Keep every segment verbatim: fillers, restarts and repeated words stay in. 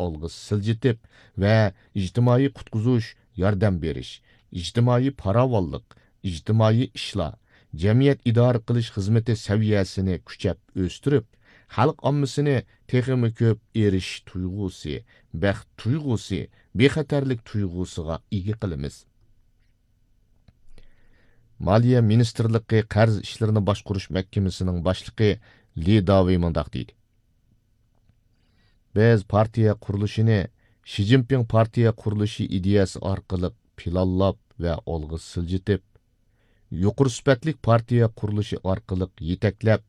ئالغا سىلجىتىپ ۋە ئىجتىمائىي قۇتقۇزۇش، ياردەم بېرىش، ئىجتىمائىي پاراۋانلىق، ئىجتىمائىي ئىشلار، جەمئىيەت ئىدارە قىلىش خىزمىتى سەۋىيەسىنى كۈچەپ ئۆستۈرۈپ، خەلق ئاممىسىنى تېخىمۇ كۆپ ئېرىشىش تۇيغۇسى، بەخت تۇيغۇسى، بىخەتەرلىك تۇيغۇسىغا ئىگە قىلىمىز. مالىيە مىنىستىرلىقى قەرز ئىشلىرىنى باشقۇرۇش مەھكىمىسىنىڭ باشلىقى لى داۋېي مۇنداق دېدى: بىز پارتىيە قۇرۇلۇشىنى شى جىنپىڭ پارتىيە قۇرۇلۇشى ئىدىيەسى ئارقىلىق پىلانلاپ ۋە ئالغا سىلجىتىپ، يۇقىرى سۈپەتلىك پارتىيە قۇرۇلۇشى ئارقىلىق يېتەكلەپ،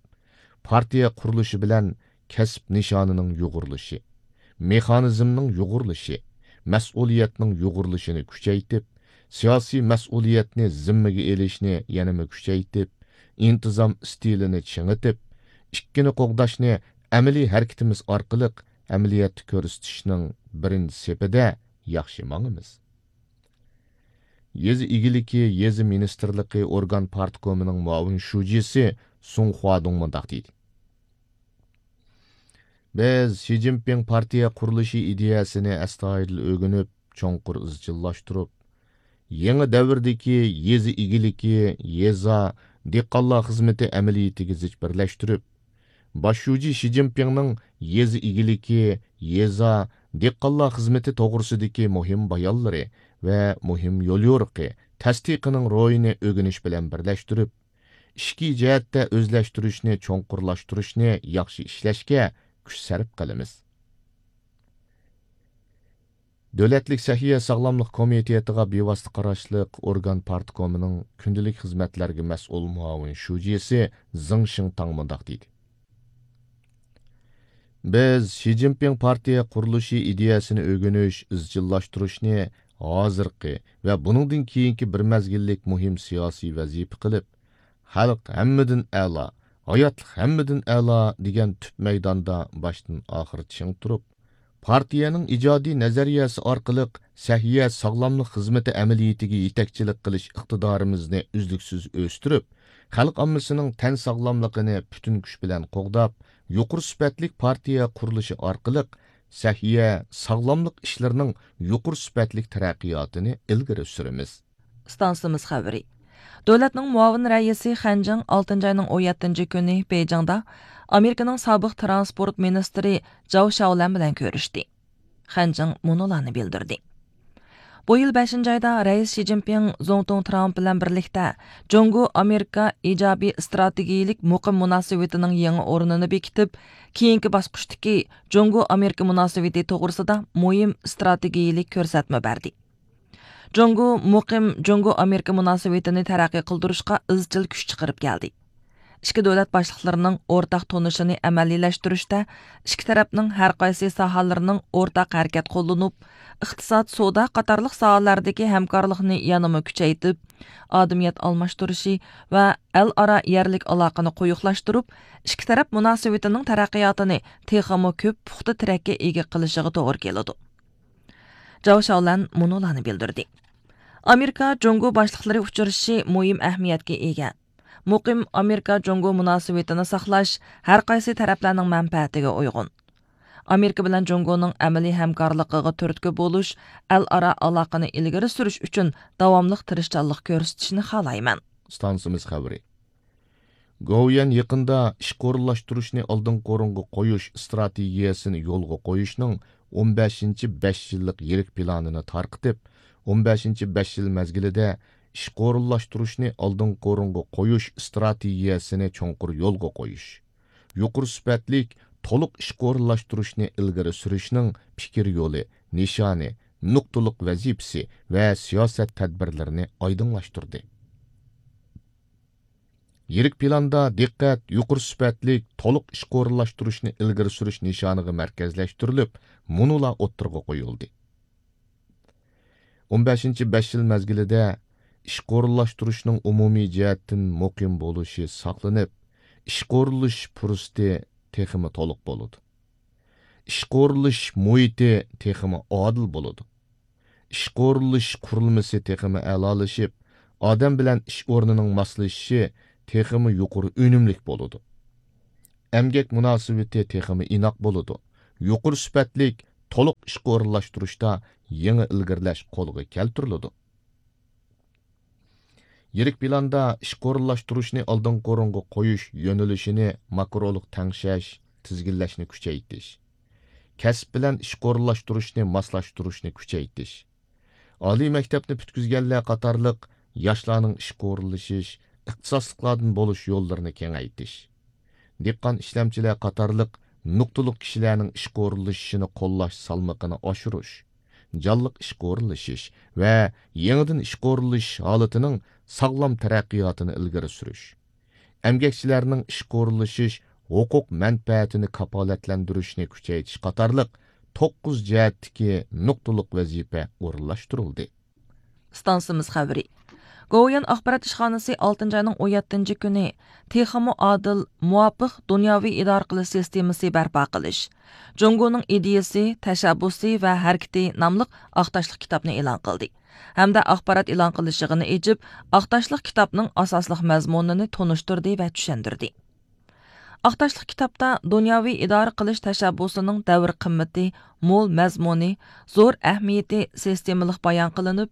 پارتىيە قۇرۇلۇشى بىلەن كەسىپ نىشانىنىڭ يۇغۇرۇلۇشى، مېخانىزمنىڭ يۇغۇرۇلۇشى، مەسئۇلىيەتنىڭ يۇغۇرۇلۇشىنى كۈچەيتىپ، سىياسىي مەسئۇلىيەتنى زىممىگە ئېلىشنى يەنىمۇ كۈچەيتىپ، ئىنتىزام ئىستىلىنى چىڭىتىپ، ئىككىنى قوغداشنى ئەمەلىي ھەرىكىتىمىز ئارقىلىق ئەمەلىيەتتە كۆرسىتىشنىڭ بىرىنچى سېپىدە ياخشى ماڭىمىز. يېزا ئىگىلىكى، يېزا مىنىستىرلىقى ئورگان پارتكومىنىڭ مۇئاۋىن شۇجىسى سۇڭ خۇادۇڭ مۇنداق دېدى: بىز شى جىنپىڭ پارتىيە قۇرۇلۇشى ئىدىيەسىنى ئەستايىدىل ئۆگىنىپ، چوڭقۇر ئىزچىللاشتۇرۇپ، يېڭى دەۋردىكى يېزا ئىگىلىكى، يېزا، دېھقانلار خىزمىتى ئەمەلىيىتىگە زىچ بىرلەشتۈرۈپ، باش شۇجى شى جىنپىڭنىڭ يېزا ئىگىلىكى، يېزا، دېھقانلار خىزمىتى توغرىسىدىكى مۇھىم بايانلىرى ۋە مۇھىم يوليورۇقى، تەستىقىنىڭ روھىنى ئۆگىنىش بىلەن بىرلەشتۈرۈپ، ئىچكى جەھەتتە ئۆزلەشتۈرۈشنى چوڭقۇرلاشتۇرۇشنى ياخشى ئىشلەشكە كۈچ سەرپ قىلىمىز. دۆلەتلىك سەھىيە ساغلاملىق كومىتېتىغا بىۋاسىتە قاراشلىق ئورگان پارتكومىنىڭ كۈندىلىك خىزمەتلەرگە مەسئۇل مۇئاۋىن شۇجىسى زېڭ شىڭتاڭ مۇنداق دېدى: بىز شى جىنپىڭ پارتىيە قۇرۇلۇشى ئىدىيەسىنى ئۆگىنىش، ئىزچىللاشتۇرۇشنى ھازىرقى ۋە بۇنىڭدىن كېيىنكى بىر مەزگىللىك مۇھىم سىياسىي ۋەزىپە قىلىپ، خەلق ھەممىدىن ئەلا، ھاياتلىق ھەممىدىن ئەلا دېگەن تۈپ مەيداندا باشتىن ئاخىر چىڭ تۇرۇپ، پارتىيەنىڭ ئىجادىي نەزەرىيەسى ئارقىلىق سەھىيە ساغلاملىق خىزمىتى ئەمەلىيىتىگە يېتەكچىلىك قىلىش ئىقتىدارىمىزنى ئۈزلۈكسىز ئۆستۈرۈپ، خەلق ئاممىسىنىڭ تەن ساغلاملىقىنى پۈتۈن كۈچ بىلەن قوغداپ، يۇقىرى سۈپەتلىك پارتىيە قۇرۇلۇشى ئارقىلىق سەھىيە ساغلاملىق ئىشلىرىنىڭ يۇقىرى سۈپەتلىك تەرەققىياتىنى ئىلگىرى سۈرىمىز. ئىستانسىمىز خەۋىرى. دۆلەتنىڭ مۇئاۋىن رەئىسى خەنجىڭ ئالتىنچى ئاينىڭ ئون يەتتىنچى كۈنى بېيجىڭدا ئامېرىكىنىڭ سابىق ترانسپورت مىنىستىرى جاۋ شياۋلەن بىلەن كۆرۈشتى. خەنجىڭ مۇنۇلارنى بىلدۈردى. بۇ يىل بەشىنچى ئايدا رەئىس شى جىنپىڭ زۇڭتۇڭ ترامپ بىلەن بىرلىكتە جۇڭگو ئامېرىكا ئىجابىي ئىستراتېگىيىلىك مۇقىم مۇناسىۋىتىنىڭ يېڭى ئورنىنى بېكىتىپ، كېيىنكى باسقۇچتىكى جۇڭگو ئامېرىكا مۇناسىۋىتى توغرىسىدا مۇھىم ئىستراتېگىيىلىك كۆرسەتمە بەردى. جۇڭگو مۇقىم جۇڭگو ئامېرىكا مۇناسىۋىتىنى تەرەققىي قىلدۇرۇشقا ئىزچىل كۈچ چىقىرىپ كەلدى. ئىككى دۆلەت باشلىقلىرىنىڭ ئورتاق تونۇشىنى ئەمەلىيلەشتۈرۈشتە ئىككى تەرەپنىڭ ھەر قايسى ساھەلىرىنىڭ ئورتاق ھەرىكەت قوللىنىپ، ئىقتىساد، سودا قاتارلىق ساھەلەردىكى ھەمكارلىقنى يەنىمۇ كۈچەيتىپ، ئادەمىيەت ئالماشتۇرۇشى ۋە ئەل ئارا يەرلىك ئالاقىنى قويۇقلاشتۇرۇپ، ئىككى تەرەپ مۇناسىۋىتىنىڭ تەرەققىياتىنى تېخىمۇ كۆپ پۇختا تىرەككە ئىگە قىلىشىغا توغرا كېلىدۇ. جاۋ شياۋلەن مۇنۇلارنى بىلدۈردى. ئامېرىكا جۇڭگو باشلىقلىرى ئۇچرىشىشى مۇھىم ئەھمىيەتكە ئىگە. مۇقىم ئامېرىكا جۇڭگو مۇناسىۋىتىنى ساقلاش ھەر قايسى تەرەپلەرنىڭ مەنپەئەتىگە ئۇيغۇن. ئامېرىكا بىلەن جۇڭگونىڭ ئەمەلىي ھەمكارلىقىغا تۈرتكە بولۇش، ئەل ئارا ئالاقىنى ئىلگىرى سۈرۈش ئۈچۈن داۋاملىق تىرىشچانلىق كۆرسىتىشىنى خالايمەن. ئىستانسىمىز خەۋىرى. گوۋۇيۈەن يېقىندا ئىشقا ئورۇنلاشتۇرۇشنى ئالدىنقى ئورۇنغا قويۇش ئىستراتېگىيەسىنى يولغا قويۇشنىڭ ئون بەشىنچى بەش يىللىق يىرىك پىلانىنى تارقىتىپ، ئون بەشىنچى بەش يىل مەزگىلىدە ئىشقا ئورۇنلاشتۇرۇشنى ئالدىنقى ئورۇنغا قويۇش ئىستراتېگىيەسىنى چوڭقۇر يولغا قويۇش، يۇقىرى سۈپەتلىك، تولۇق ئىشقا ئورۇنلاشتۇرۇشنى ئىلگىرى سۈرۈشنىڭ پىكىر يولى، نىشانى، نۇقتىلىق ۋەزىپىسى ۋە سىياسەت تەدبىرلىرىنى ئايدىڭلاشتۇردى. يىرىك پىلاندا دىققەت يۇقىرى سۈپەتلىك، تولۇق ئىشقا ئورۇنلاشتۇرۇشنى ئىلگىرى سۈرۈش نىشانىغا مەركەزلەشتۈرۈلۈپ، مۇنۇلار ئوتتۇرىغا قويۇلدى. ئون بەشىنچى بەش يىل مەزگىلىدە ئىشقا ئورۇنلاشتۇرۇشنىڭ ئومۇمىي جەھەتتىن مۇقىم بولۇشى ساقلىنىپ، ئىشقا ئورۇنلىشىش پۇرسىتى تېخىمۇ تولۇق بولىدۇ. ئىشقا ئورۇنلىشىش مۇھىتى تېخىمۇ ئادىل بولىدۇ. ئىشقا ئورۇنلىشىش قۇرۇلمىسى تېخىمۇ ئەلالىشىپ، ئادەم بىلەن ئىش ئورنىنىڭ ماسلىشىشى تېخىمۇ يۇقىرى ئۈنۈملۈك بولىدۇ. ئەمگەك مۇناسىۋىتى تېخىمۇ ئىناق بولىدۇ. يۇقىرى سۈپەتلىك، تولۇق ئىشقا ئورۇنلاشتۇرۇشتا يېڭى ئىلگىرىلەش قولغا كەلتۈرۈلىدۇ. يىرىك پىلاندا ئىشقا ئورۇنلاشتۇرۇشنى ئالدىنقى ئورۇنغا قويۇش يۆنىلىشىنى ماكرولۇق تەڭشەش، تىزگىنلەشنى كۈچەيتىش، كەسىپ بىلەن ئىشقا ئورۇنلاشتۇرۇشنى ماسلاشتۇرۇشنى كۈچەيتىش، ئالىي مەكتەپنى پۈتكۈزگەنلەر قاتارلىق ياشلارنىڭ ئىشقا ئورۇنلىشىش، ئىختىساسلىقلاردىن بولۇش يوللىرىنى كېڭەيتىش، دېھقان، ئىشلەمچىلەر قاتارلىق نۇقتىلىق كىشىلەرنىڭ ئىشقا ئورۇنلىشىشىنى قوللاش سالمىقىنى ئاشۇرۇش، جانلىق ئىشقا ئورۇنلىشىش ۋە يېڭىدىن ئىشقا ئورۇنلىشىش ھالىتىنىڭ ساغلام تەرەققىياتىنى ئىلگىرى سۈرۈش، ئەمگەكچىلەرنىڭ ئىشقا ئورۇنلىشىش ھوقۇق مەنپەئەتىنى كاپالەتلەندۈرۈشنى كۈچەيتىش قاتارلىق توققۇز جەھەتتىكى نۇقتىلىق ۋەزىپە ئورۇنلاشتۇرۇلدى. ئىستانسىمىز خەۋىرى. گوۋۇيۈەن ئاخبارات ئىشخانىسى ئالتىنچى ئاينىڭ ئون يەتتىنچى كۈنى تېخىمۇ ئادىل، مۇۋاپىق دۇنياۋى ئىدارە قىلىش سىستېمىسى بەرپا قىلىش، جۇڭگونىڭ ئىدىيىسى، تەشەببۇسى ۋە ھەرىكىتى ناملىق ئاقتاشلىق كىتابنى ئېلان قىلدى ھەمدە ئاخبارات ئېلان قىلىش يىغىنى ئېچىپ، ئاقتاشلىق كىتابنىڭ ئاساسلىق مەزمۇنىنى تونۇشتۇردى ۋە چۈشەندۈردى. ئاقتاشلىق كىتابتا دۇنياۋى ئىدارە قىلىش تەشەببۇسىنىڭ دەۋر قىممىتى، مول مەزمۇنى، زور ئەھمىيىتى سىستېمىلىق بايان قىلىنىپ،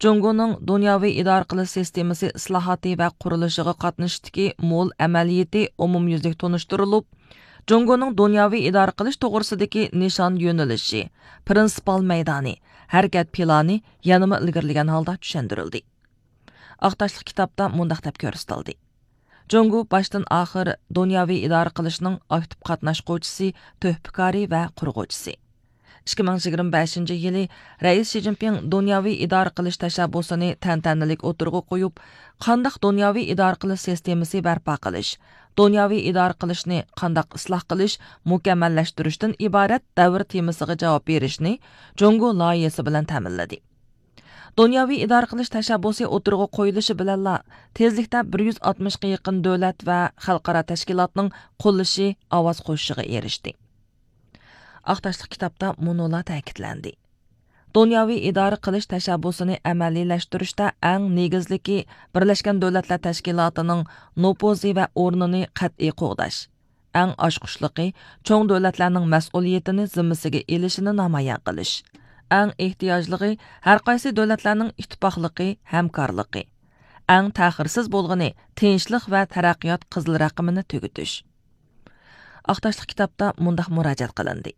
جۇڭگونىڭ دۇنياۋى ئىدارە قىلىش سىستېمىسى ئىسلاھاتى ۋە قۇرۇلۇشىغا قاتنىشىشتىكى مول ئەمەلىيىتى ئومۇميۈزلۈك تونۇشتۇرۇلۇپ، جۇڭگونىڭ دۇنياۋى ئىدارە قىلىش توغرىسىدىكى نىشان يۆنىلىشى، پىرىنسىپال مەيدانى، ھەرىكەت پىلانى يەنىمۇ ئىلگىرىلىگەن ھالدا چۈشەندۈرۈلدى. ئاقتاشلىق كىتابتا مۇنداق دەپ كۆرسىتىلدى: جۇڭگو باشتىن ئاخىر دۇنياۋى ئىدارە قىلىشنىڭ ئاكتىپ قاتناشقۇچىسى، تۆھپىكارى ۋە قۇرغۇچىسى. ئىككى مىڭ يىگىرمە بەشىنچى يىلى رەئىس شى جىنپىڭ دۇنياۋى ئىدارە قىلىش تەشەببۇسىنى تەنتەنىلىك ئوتتۇرىغا قويۇپ، قانداق دۇنياۋى ئىدارە قىلىش سىستېمىسى بەرپا قىلىش، دۇنياۋى ئىدارە قىلىشنى قانداق ئىسلاھ قىلىش، مۇكەممەللەشتۈرۈشتىن ئىبارەت دەۋر تېمىسىغا جاۋاب بېرىشنى جۇڭگو لايىھىسى بىلەن تەمىنلىدى. دۇنياۋى ئىدارە قىلىش تەشەببۇسى ئوتتۇرىغا قويۇلۇشى بىلەنلا، تېزلىكتە بىر يۈز ئاتمىشقا يېقىن دۆلەت ۋە خەلقئارا تەشكىلاتنىڭ قوللىشى، ئاۋاز قوشۇشىغا ئېرىشتى. ئاقتاشلىق كىتابتا مۇنۇلار تەكىتلەندى: دۇنياۋى ئىدارە قىلىش تەشەببۇسىنى ئەمەلىيلەشتۈرۈشتە ئەڭ نېگىزلىكى بىرلەشكەن دۆلەتلەر تەشكىلاتىنىڭ نوپۇزى ۋە ئورنىنى قەتئىي قوغداش، ئەڭ ئاچقۇچلۇقى، چوڭ دۆلەتلەرنىڭ مەسئۇلىيىتىنى زىممىسىگە ئېلىشىنى نامايان قىلىش. ئەڭ ئېھتىياجلىقى، ھەرقايسى دۆلەتلەرنىڭ ئىتتىپاقلىقى، ھەمكارلىقى. ئەڭ تەخىرسىز بولغىنى، تىنچلىق ۋە تەرەققىيات قىزىل رەقىمىنى تۈگىتىش. ئاقتاشلىق كىتابتا مۇنداق مۇراجىئەت قىلىندى: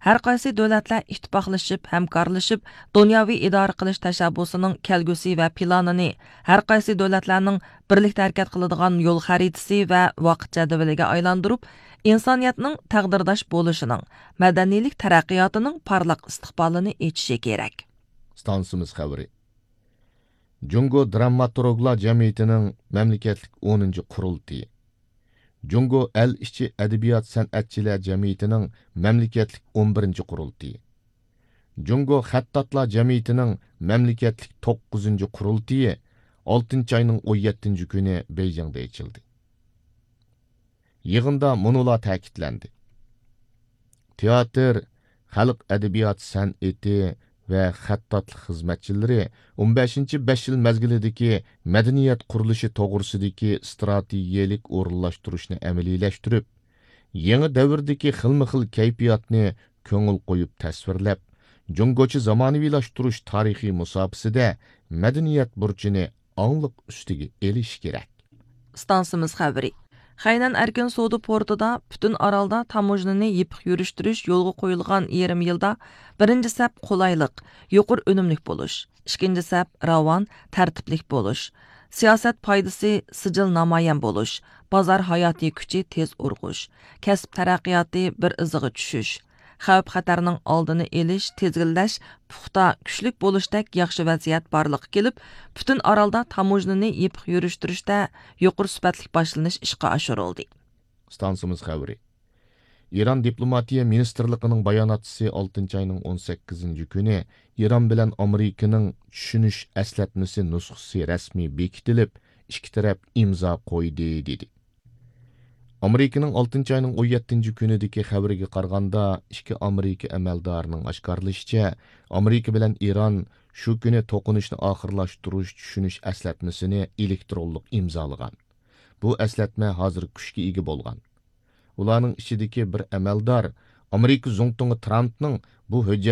ھەرقايسى دۆلەتلەر ئىتتىپاقلىشىپ، ھەمكارلىشىپ، دۇنياۋى ئىدارە قىلىش تەشەببۇسىنىڭ كەلگۈسى ۋە پىلانىنى ھەرقايسى دۆلەتلەرنىڭ بىرلىكتە ھەرىكەت قىلىدىغان يول خەرىتىسى ۋە ۋاقىت جەدۋىلىگە ئايلاندۇرۇپ، ئىنسانىيەتنىڭ تەقدىرداش بولۇشىنىڭ، مەدەنىيلىك تەرەققىياتىنىڭ پارلاق ئىستىقبالىنى ئېچىشى كېرەك. ئىستانسىمىز خەۋىرى. جۇڭگو دراماتورگلار جەمئىيىتىنىڭ مەملىكەتلىك ئونىنچى قۇرۇلتىيى. جۇڭگو ئەل ئىچى ئەدەبىيات سەنئەتچىلەر جەمئىيىتىنىڭ مەملىكەتلىك ئون بىرىنچى قۇرۇلتىيى. جۇڭگو خەتتاتلار جەمئىيىتىنىڭ مەملىكەتلىك توققۇزىنچى قۇرۇلتىيى ئالتىنچى ئاينىڭ ئون يەتتىنچى كۈنى بېيجىڭدا ئېچىلدى. يىغىندا مۇنۇلار تەكىتلەندى: تىياتىر، خەلق ئەدەبىيات سەنئىتى ۋە خەتتاتلىق خىزمەتچىلىرى ئون بەشىنچى بەش يىل مەزگىلىدىكى مەدەنىيەت قۇرۇلۇشى توغرىسىدىكى ئىستراتېگىيەلىك ئورۇنلاشتۇرۇشنى ئەمەلىيلەشتۈرۈپ، يېڭى دەۋردىكى خىلمۇ خىل كەيپىياتنى كۆڭۈل قويۇپ تەسۋىرلەپ، جۇڭگوچە زامانىۋىلاشتۇرۇش تارىخىي مۇساپىسىدە مەدەنىيەت بۇرچىنى ئاڭلىق ئۈستىگە ئېلىش كېرەك. ئىستانسىمىز خەۋىرى. خەينەن ئەركىن سودا پورتىدا پۈتۈن ئارالدا تاموژنىنى يېپىق يۈرۈشتۈرۈش يولغا قويۇلغان يېرىم يىلدا بىرىنچى سەپ قولايلىق، يۇقىرى ئۈنۈملۈك بولۇش، ئىككىنچى سەپ راۋان، تەرتىپلىك بولۇش، سىياسەت پايدىسى سىجىل نامايان بولۇش، بازار ھاياتىي كۈچى تېز ئۇرغۇش، كەسىپ تەرەققىياتى بىر ئىزىغا چۈشۈش، خەۋپ-خەتەرنىڭ ئالدىنى ئېلىش، تىزگىنلەش پۇختا، كۈچلۈك بولۇشتەك ياخشى ۋەزىيەت بارلىققا كېلىپ، پۈتۈن ئارالدا تاموژنىنى يېپىق يۈرۈشتۈرۈشتە يۇقىرى سۈپەتلىك باشلىنىش ئىشقا ئاشۇرۇلدى. ئىستانسىمىز خەۋىرى. ئىران دىپلوماتىيە مىنىستىرلىقىنىڭ باياناتچىسى ئالتىنچى ئاينىڭ ئون سەككىزىنچى كۈنى ئىران بىلەن ئامېرىكىنىڭ چۈشىنىش ئەسلەتمىسى نۇسخىسى رەسمىي بېكىتىلىپ، ئىككى تەرەپ ئىمزا قويدى، دېدى. ئامېرىكىنىڭ ئالتىنچى ئاينىڭ ئون يەتتىنچى كۈنىدىكى خەۋىرىگە قارىغاندا، ئىككى ئامېرىكا ئەمەلدارىنىڭ ئاشكارىلىشىچە، ئامېرىكا بىلەن ئىران شۇ كۈنى توقۇنۇشنى ئاخىرلاشتۇرۇش چۈشىنىش ئەسلەتمىسىنى ئېلېكترونلۇق ئىمزالىغان. بۇ ئەسلەتمە ھازىر كۈچكە ئىگە بولغان. ئۇلارنىڭ ئىچىدىكى بىر ئەمەلدار ئامېرىكا زۇڭتۇڭى ترامپنىڭ بۇ ھۆججەت